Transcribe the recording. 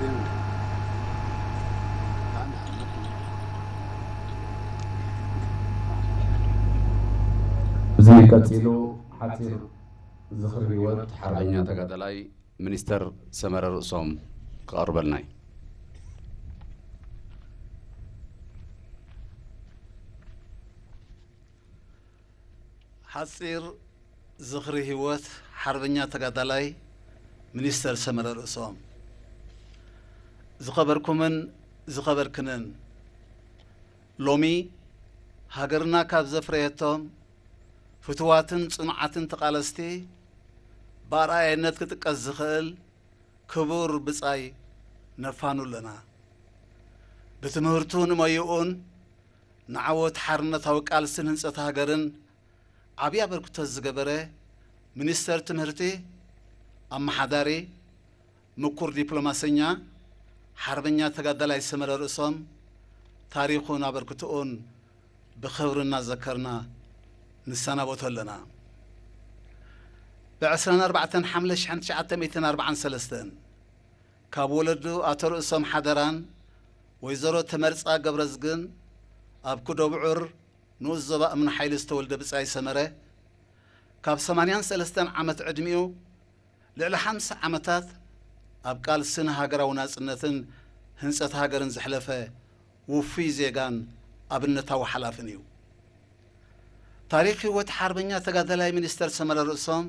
እዚ ቀጺሉ ሓጺር ዝኽሪ ህይወት ሓርበኛ ተጋዳላይ ሚኒስተር ሰመረ ርእሶም ክቐርበልና እዩ። ሓጺር ዝኽሪ ህይወት ሓርበኛ ተጋዳላይ ሚኒስተር ሰመረ ርእሶም። ዝኸበርኩምን ዝኸበርክንን፣ ሎሚ ሃገርና ካብ ዘፍረየቶም ፍቱዋትን ጽኑዓትን ተቓለስቲ ብኣርኣያነት ክጥቀስ ዝኽእል ክቡር ብጻይ ነፋኑ ኣለና። ብትምህርቱን ሞያኡን ንዓወት ሓርነታዊ ቃልስን ህንጸት ሃገርን ዓብዪ ኣበርክቶ ዝገበረ ሚኒስተር ትምህርቲ፣ ኣመሓዳሪ፣ ምኩር ዲፕሎማሰኛ፣ ሓርበኛ ተጋዳላይ ሰመረ ርእሶም ታሪኹን ኣበርክቶኡን ብኽብሪ እናዘከርና ንሰናበቶ ኣለና። ብ ዕስራን ኣርባዕተን ሓምለ ሽሕን ትሽዓተ ሚእትን ኣርባዓን ሰለስተን ካብ ወለዱ ኣቶ ርእሶም ሓደራን ወይዘሮ ተመርጻ ገብረዝግን ኣብ ኩደብዑር ንኡስ ዞባ እምኒ ሓይሊ ዝተወልደ ብጻይ ሰመረ፣ ካብ ሰማንያን ሰለስተን ዓመት ዕድሚኡ ልዕሊ ሓምሳ ዓመታት ኣብ ቃልስን ሃገራዊ ናጽነትን ህንጸት ሃገርን ዘሕለፈ ውፉይ ዜጋን ኣብነታዊ ሓላፍን እዩ። ታሪኽ ህይወት ሓርበኛ ተጋዳላይ ሚኒስተር ሰመረ ርእሶም